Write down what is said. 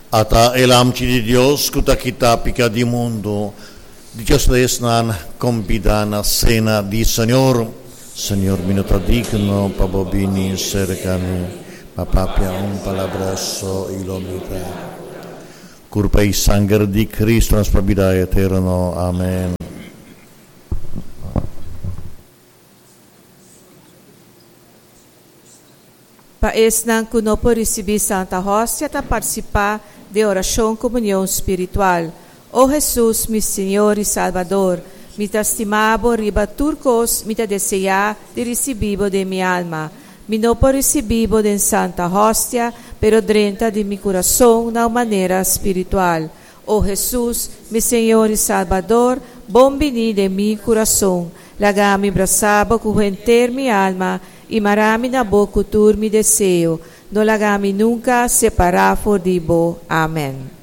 Ata e Lamchi di Dios ku ta kita piká di mundu. Dichoso ta esnan kombidá na sena di Señor. Señor, mi no ta digno pa bo bini serka mi, ma papia un palabra so i lo mi ta. Kurpa i sanger di Kristu nos pa bida eterno. Amen. Pa esnan ku no por risibí Santa Hostia ta partisipá den orashon komunion spiritual. O Hesus, mi Señor i Salbador, mi ta stima bo riba tur kos, mi ta deseá di risibí bo den mi alma. Mi no por risibí bo den Santa Hostia, pero drenta den mi kurason na un manera spiritual. O Hesus, mi Señor i Salbador, bon biní den mi kurason. Laga mi brasa bo ku henter mi alma i mara mi na bo ku tur mi deseo. No laga mi nunka separá for di bo. Amèn.